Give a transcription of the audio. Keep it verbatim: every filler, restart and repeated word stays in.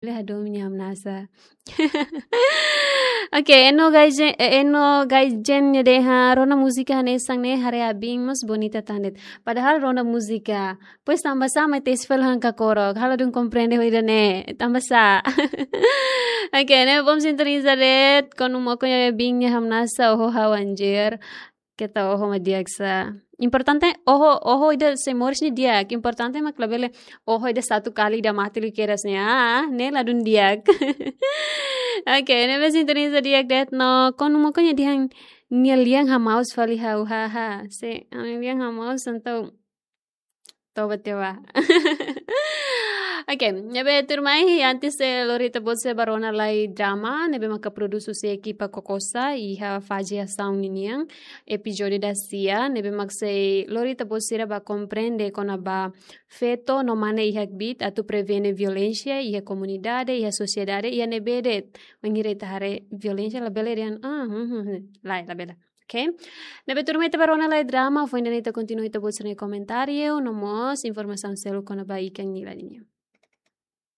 Bele hadomi nia hamnasa. Oke, Eno Gaijen, eh, Eno Gaijen nia dehan rona múzika hanesan ne'e haree abin mós bonita tan de'it. Padahal rona múzika. Pois tanbasá mai tesi fali han kakorok. Ha'u ladún komprende ho ida-ne'e. Tanbasá. Oke, ne'e bom sintoniza de'it. Konu moko nia abin nia hamnasa oho ha'u anjir. Keta oho mak di'ak sá. Importante oho, oho ida sei moris ne'e di'ak. Importante mak labele oho ida satu kali ida mate liu kedas ne'e. Ah, ne'e ladún di'ak. Oke, ne'ebé sintoniza di'ak de'it no. Konu moko nia dehan nia lian hamaus fali ha'u, haha. Se, nia lian hamaus entaun toba tiha ba. Oke, ne'ebé tuirmai, antes de lori ita-boot sira ba rona lai drama, ne'ebé maka produs husi ekipa Kokosa, iha Faji Asaun ninian, epizódiu dasia, ne'ebé mak sei lori ita-boot sira ba komprende kona-ba feto no mane iha kbiit atu prevene violénsia iha komunidade, iha sosiedade, iha ne'ebé de'it. Wainhira ita haree violénsia labele dehan, ah, hmm, hmm, hmm. Lae, labele. Oke. Ne'ebé tuirmai ita ba rona lai drama, foin ida-ne'e ita kontinua ita-boot sira-nia komentáriu, no mós informasaun seluk kona-ba ikan nila ninian.